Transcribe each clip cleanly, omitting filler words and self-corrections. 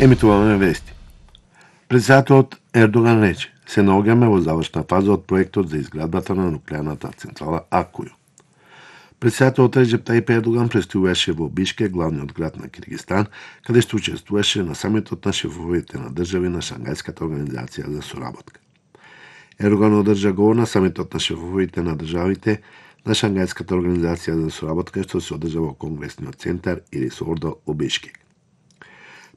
Емитуваме вести. Председателот Ердоган рече: се наоѓаме во завршна фаза од проектот за изградбата на нуклеарната централа Акују. Председателот Реджеп Тајип Ердоган пристигуваше во Бишкек, главниот град на Киргизстан, каде што учествуваше на самитот на шефовите на држави на Шангајската организација за соработка. Ердоган одржа говор на самитот на шефовите на државите на Шангајската организација за соработка, што се одржа во Конгресниот центар Ирис Ордо во Бишкек.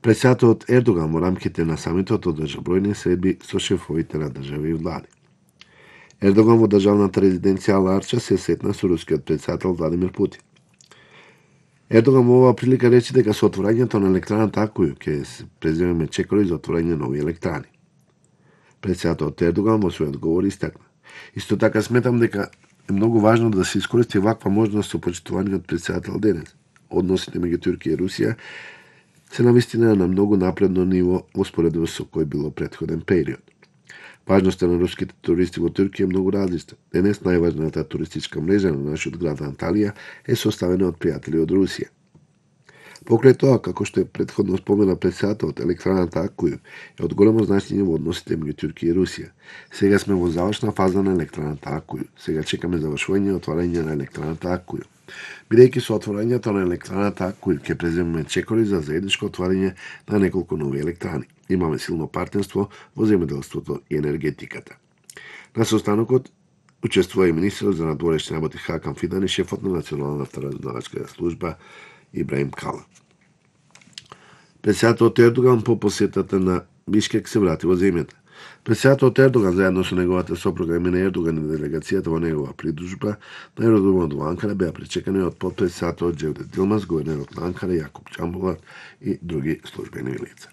Председателот Ердоган во рамките на самитот одржа бројни средби со шефовите на држави и влади. Ердоган во државната резиденција Ал-Арча се сретна со рускиот председател Владимир Путин. Ердоган во оваа прилика рече дека со отворањето на електраната Акују ќе се преземеме чекори за отворање нови електрани. Председателот Ердоган во својот говор истакна: исто така сметам дека е многу важно да се искористи ваква можност со почитуваниот председател денес. Односите меѓу Турција и Русија се навистина на многу напредно ниво во споредба со кој било претходен период. Важноста на руските туристи во Турција е многу различна. Денес најважната туристичка мрежа на нашиот град Анталија е составена од пријатели од Русија. Покрај тоа, како што е претходно спомена председателот, електраната Акују е од големо значење во односите меѓу Турција и Русија. Сега сме во завршна фаза на електраната Акују. Сега чекаме завршување и отварање на електраната Акују. Бидејќи со отворањето на електраната Акују ќе преземеме чекори за заедничко отварање на неколку нови електрани. Имаме силно партнерство во земјоделството и енергетиката. На состанокот учествува и министерот за надворешни работи Хакан Фидан и шефот на Националната разузнавачка служба Ибраим Кала. Председателот Ердоган по посетата на Бишкек се врати во земјата. Председателот Ердоган заедно со неговата сопруга Емине Ердоган и делегацијата во негова придружба на аеродромот во Анкара беа пречекани од потпредседателот Џевдет Илмаз, гувернерот на Анкара Јакуп Џамбулат и други службени лица.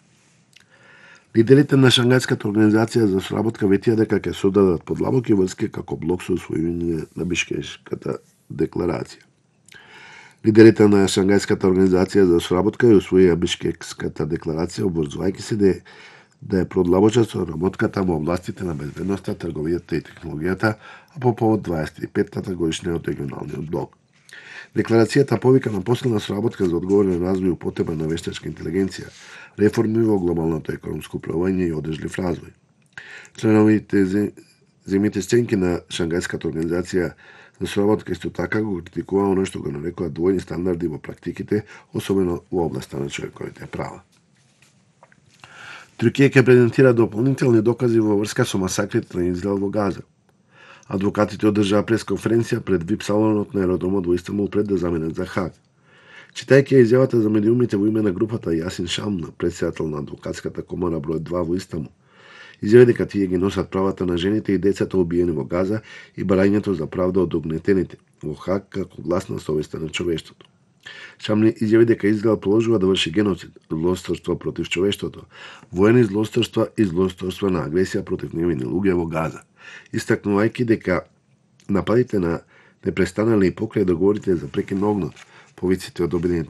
Лидерите на Шангајската организација за соработка ветија дека ќе создадат подлабоки врски како блок со усвојување на Бишкешката декларација. Лидерите на Шангајската организација за соработка ја усвоија Бишкекската декларација, обврзувајќи се да ја продлабочат соработката во областите на безбедноста, трговијата и технологијата, а по повод 25-та годишнина од регионалниот блок. Декларацијата повика на посилна соработка за одговорен развој и употреба на вештачка интелигенција, реформи во глобалното економско управување и одржлив развој. Членовите земјите членки на Шангајската организација за соработка исто така го критикува оно што го нарекува двојни стандарди во практиките, особено во областа на човековите права. Туркија ќе презентира дополнителни докази во врска со масакрите на Израел во Газа. Адвокатите одржаа пресконференција пред ВИП салонот на аеродромот во Истанбул пред да заменат за Хаг. Читајќи ја изјавата за медиумите во име на групата Јасин Шамна, председател на адвокатската комора број 2 во Истанбул, изјави дека тие ги носат правата на жените и децата убиени во Газа и барањето за правда од угнетените во Хаг како глас на совеста на човештвото. Шамни изјави дека Израел продолжува да врши геноцид, злосторство против човештвото, воени злосторства и злосторства на агресија против невини луѓе во Газа, истакнувајќи дека нападите не престанале и покрај договорите за прекин на огнот, повиците од Обединетите